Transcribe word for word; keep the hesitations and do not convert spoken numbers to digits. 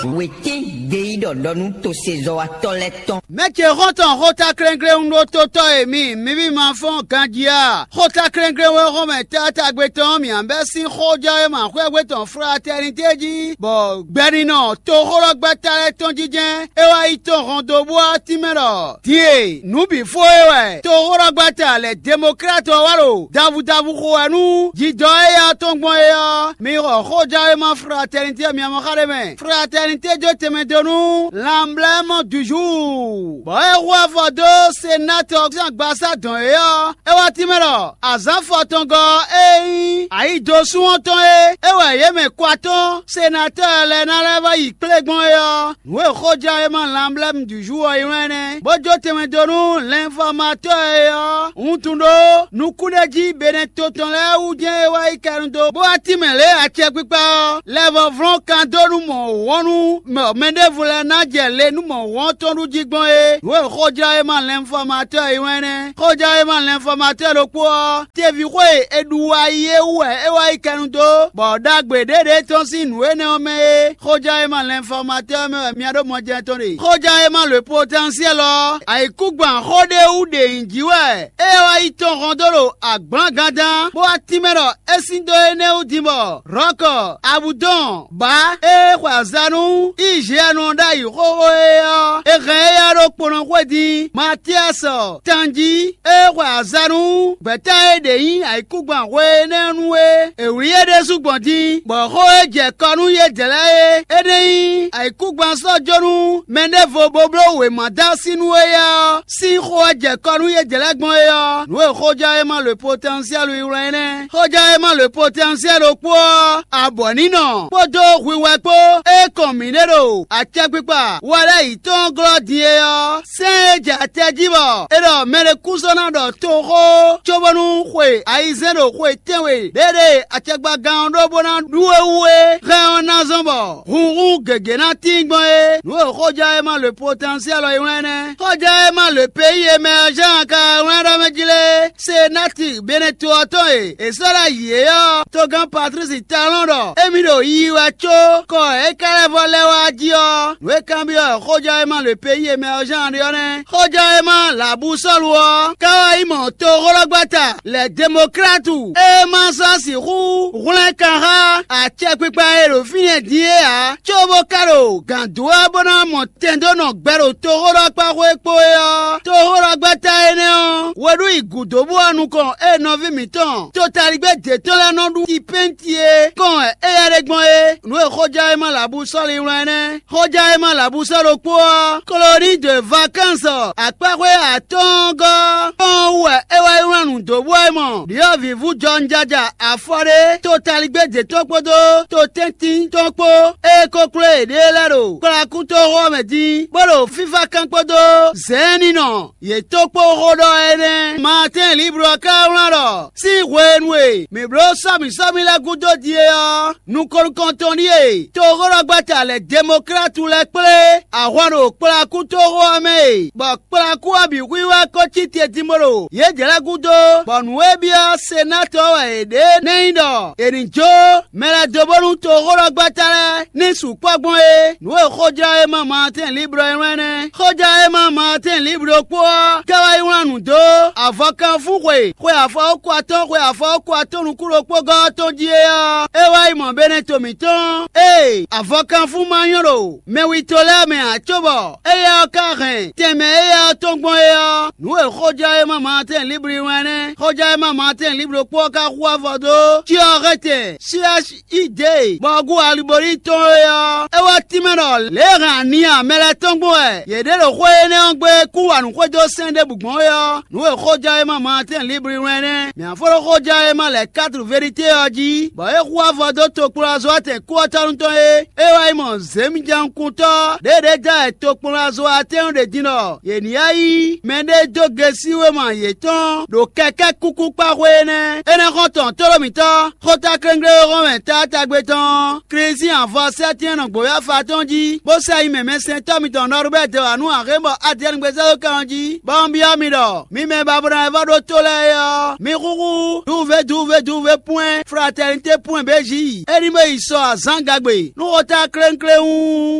Wětín gbeyíɖɔ ɖɔ nú tosezɔ́watɔ́ lɛ́ɛ tɔn. Mɛ ce xɔ́ntɔn xóta klɛ́nklɛ́n ɖó tótɔ́ e mi mǐví ma fɔ́n ganjí a? Xóta klɛ́nklɛ́n wɛ xɔ́mɛ taatagbe tɔn mǐ bɛ́ sín xójɛ́wéma xwɛ́gbe tɔn Fratɛnité jí, bɔ gbɛninɔ toxóɖɔgbɛ́ta lɛ́ɛ tɔn jínjɛ́n é wá yi tɔn hɔn dó bó wá tínmɛ ɖɔ: Din e nǔ bǐ fó é wɛ toxóɖɔgbɛ́ta lɛ̌ Demokláti ɔ́ wá ɖo davudavu xo wɛ nú jidɔ éya tɔn gbɔn é ɔ́, mi xɔ xójɛ́wéma Fratɛnité myamɔ́ xa ɖé mɛ. Fratɛnité jó tɛnmɛ dó nú Lanblɛ́mɔ Duju, bɔ é hu afɔ dó Senatɔ sín agbaza dɔn é ɔ́, é wá tínmɛ ɖɔ azǎn fɔtɔngɔ́ e nyí ayidosún ɔ́ tɔn é, é wɛ yě mɛ kɔ atɔ́ɔ́n senatɔ́ɔ lɛ́ɛ ná lɛ́ vɔ́ yi kplé gbɔn é ɔ́, nǔ e xójɛ́wéma Lanblɛ́mu Duju ɔ́ ylɔ́n ɛ nɛ́, bó jó tɛnmɛ dó nú lɛnfɔmatɔ́ e ɔ́ wuntun ɖó nukúnɖéjí Benɛto tɔn lɛ́ɛ wú jɛ́n é wá yi kɛnu dó, bó wá tínmɛ lě acɛkpikpa ɔ́ lɛ́ vɔ́ vlɔ́n kan dó nú mɔ̌ wɔn nú mɛ ɖěvo lɛ́ɛ ná jɛ le nú mɔ̌ wɔn tɔn ɖu jí gbɔn é. Nǔ e xójlɔ́ e ma lɛnfɔmatɔ́ e wɛn nɛ́. Xójlɔ́ e ma lɛnfɔmatɔ́ ɖokpó ɔ́, teví xó e è ɖu wá yi é wú wɛ é wá yi kɛnu dó, bɔ ɖagbe ɖěɖě tɔn sín nǔ énɛ́ ɔ́ mɛ é. Xójlɔ́ e ma lɛnfɔmatɔ́ ɔ́ mɛ wɛ mia ɖó mɔjɛ́n tɔn ɖe. Xójlɔ́ e ma le potɛnsiɛ́l ɔ́, ayǐkúngban xó ɖé wú ɖe nyǐ jí wɛ é wá yi tɔn hɔn dó ɖo agblǎngán dán, bó wá tínmɛ ɖɔ é sín dó énɛ́ wú din bɔ Rɔ̌kɔ, Abudɔn, Bǎ e xwe azǎn nú Iziɛnu ɔ́ ɖ'ayǐ xóxó é ɔ́, è hɛn éyɛ́ ɖó kponɔxwé din. Matíasɔ, Tanjí e xwe azǎn nú gbɛ̌ta e ɖě nyí ayǐkúngban hwe énɛ́ ɔ́ nu é. È wlí yě ɖésú gbɔn din, bɔ xó e jɛ kɔ nú yědɛɛ lɛ́ɛ é, énɛ́ nyí ayǐkúngban sɔ́ jó nú mɛ ɖěvo bó bló wěma dó así nú éyɛ́ ɔ́ sín xó wɛ jɛ kɔ nú yědɛɛ lɛ́ɛ gbɔn é ɔ́, nǔ e xójɛ́wéma le potɛnsiɛ́lu yi wlán é nɛ́. Xójɛ́wéma le potɛnsiɛ́lu kpó ɔ́, abɔ̌nínɔ kpódó hwiwɛ kpó é kɔn mǐ ɖe ɖo acɛkpikpa wɛ lɛ́ɛ yi tɔn glɔ́ din é ɔ́, sɛ́n e jɛ atɛ jí bɔ è ɖɔ mɛ ɖé kú sɔ́ ná ɖɔ toxó cóbónú xwe ayizɛ́n ɖo xwe tɛ́nwe ɖéɖé acɛkpagán ɔ́ ɖó bó ná ɖú é wú é hɛn ɔ́ ná zɔ́n bɔ hunhun gěgé ná tín gbɔn é. Nǔ e xójɛ́wéma le potɛnsiɛ́l ɔ́ yi wlán nɛ́. Xójɛ́wéma le peyi e mɛ ɔ́ Jean ka wlán ɖɔ mɛ jí lé, Senati Beneto ɔ́ tɔn e è sɔ́ ɖo ayǐ é ɔ́, togán Patlísi Talɔ́n ɖɔ émí ɖo yiyi wɛ có kɔ e é ka lɛ́ vɔ lɛ́ wá jí ɔ́, nǔ e kanbyɔ́ xójɛ́wéma le peyi e mɛ ɔ́ Jean ɖe ɔ́ nɛ́. Xójɛ́wéma Labusɔ́lu ɔ́ ka wá yi mɔ toxóɖɔgbata lɛ Demoklátu e ma sɔ́ sixú hwlɛ́n kan xá acɛkpikpa e ɖo fínɛ́ din é ǎ, cóbó ka ɖo gǎn dó wɛ bó ná mɔ tɛn dó nɔ gbɛ ɖo toxóɖɔkpáxwé kpó é ɔ́, toxóɖɔgbɛ́ta énɛ́ ɔ́, we ɖú yi gǔdo bó wá nukɔn ée nɔví mǐtɔn totaligbé d'é tɔn lɛ́ɛ nɔ ɖu tipɛ́nti é kɔn wɛ éyɛ́ ɖe gbɔn é. Nǔ e xójɛ́wéma Labusɔ́li wlán é nɛ́. Xójɛ́wéma Labusɔ́ ɖokpó ɔ́, Kolonii de Vakánsi akpáxwé atɔ́ɔ́ngɔ́ kpɔ́n wú wɛ é wá yi wlán nǔ dó bú wɛ mɔ ɖyɔ̌vǐvú jɔnjaja afɔ ɖé totaligbé d'é tɔn kpódó totɛ́ntin tɔn kpó e ko kló yěɖée lɛ́ɛ ɖo kplakútoxo ɔ́ mɛ dín, bó ɖo fífákan kpódó zɛ̌ɛ́nnínɔ yě tó kpó xó ɖɔ énɛ́. Maatɛ́n Liblu ɔ́ ka wlán ɖɔ sín hwenu e mǐ bló sɔ́mǐsɔ́mí lɛ́ɛ gúdo din é ɔ́, nukɔn nukɔntɔn ɖíe toxóɖɔgbɛ́ta lɛ̌ Demoklátu lɛ́ɛ kplé ahwan ɖo kplakútoxo ɔ́ mɛ e, bɔ kplakú ɔ́ bǐ hwíhwɛ́ kó cí te din bó ɖo yědɛɛ lɛ́ɛ gúdo, bɔ nǔ e byɔ́ Senatɔ wɛ è ɖě nɛ́ nyí ɖɔ è nǐ jó mɛ lɛ́ɛ dó bónú toxóɖɔgbɛ́ta lɛ́ɛ ní sukpɔ́ gbɔn é. Nǔ e xójlɔ́ e ma Maatɛ́n Liblu ɔ́ wlán nɛ́. Xójlɔ́ e ma Maatɛ́n Liblu ɖokpó ɔ́ ka wá yi wlán nǔ dó avɔkanfúxwe xwe afɔwúkɔ atɔ́ɔ́n xwe afɔwúkɔ atɔ́ɔ́n nukún ɖokpó gɔ́ ɔ́ tɔn jí é ɔ́, é wá yi mɔ Beneto mǐtɔn ée avɔkanfún ma nyɔ́ ɖo mɛwito lɛ́ɛ mɛ ǎ cóbɔ éyɛ́ ɔ́ ka hɛn tɛnmɛ éyɛ́ ɔ́ tɔn gbɔn é ɔ́, nǔ e xójlɔ́ e ma Maatɛ́n Liblu wlán nɛ́. Xójlɔ́ e ma Maatɛ́n Liblu ɖokpó ɔ́ ka hu avɔ dó cyɔ hɛntɛn Siasi idée bɔ gú aliboli tɔn é ɔ́, é wá tínmɛ ɖɔ lě e hɛn ani amɛ lɛ́ɛ tɔn gbɔn wɛ yě ɖe ɖo xwé énɛ́ ɔ́ gbe kún wa nǔ xwedó sɛn ɖěbǔ gbɔn é ɔ́, nǔ e xójlɔ́ e ma Maatɛ́n Liblu wlán nɛ́. Mǐ ǎ fó ɖó xójlɔ́ e ma lɛ̌ Katlu Veɖité ɔ́ jí, bɔ é hu avɔ dó tokplɔ́zɔ́watɛn kúɔ́tɔ́nu tɔn é. É wá yi mɔ zěmijɛnkuntɔ́ ɖěɖě da wɛ tokplɔ́nazɔ́watɛ́n ɖě din ɖɔ yě ní yá yí mɛɖé dó gesi wéma yětɔn ɖo kɛkɛ́ kúkú kpá xwé énɛ́. Énɛ́ xɔ́ntɔn tóɖó mǐtɔn, xóta kléŋklé e hɔn mɛ taátagbe tɔn ɔ́, Klín sín avɔ sɛ́tɛ́n nɔ gbǒyɔ́fa tɔn jí, bó sɛ nyi mɛmɛsɛntɔ́ mitɔn Nɔrubɛ́ti wǎ nú axé bɔ Adiyɛ́ɛn gbezɛ́lókan ɔ́ jí, bɔ un byɔ́ mi ɖɔ mi mɛ e ba bo ná wɛ vɔ́ ɖó tó lɛ́ɛ é ɔ́, mi xúxú duve duve duve pwɛ́n fratɛnité pwɛ́n bějí, é ní bó yi sɔ azǎn gagbe nú xóta klénkléwún.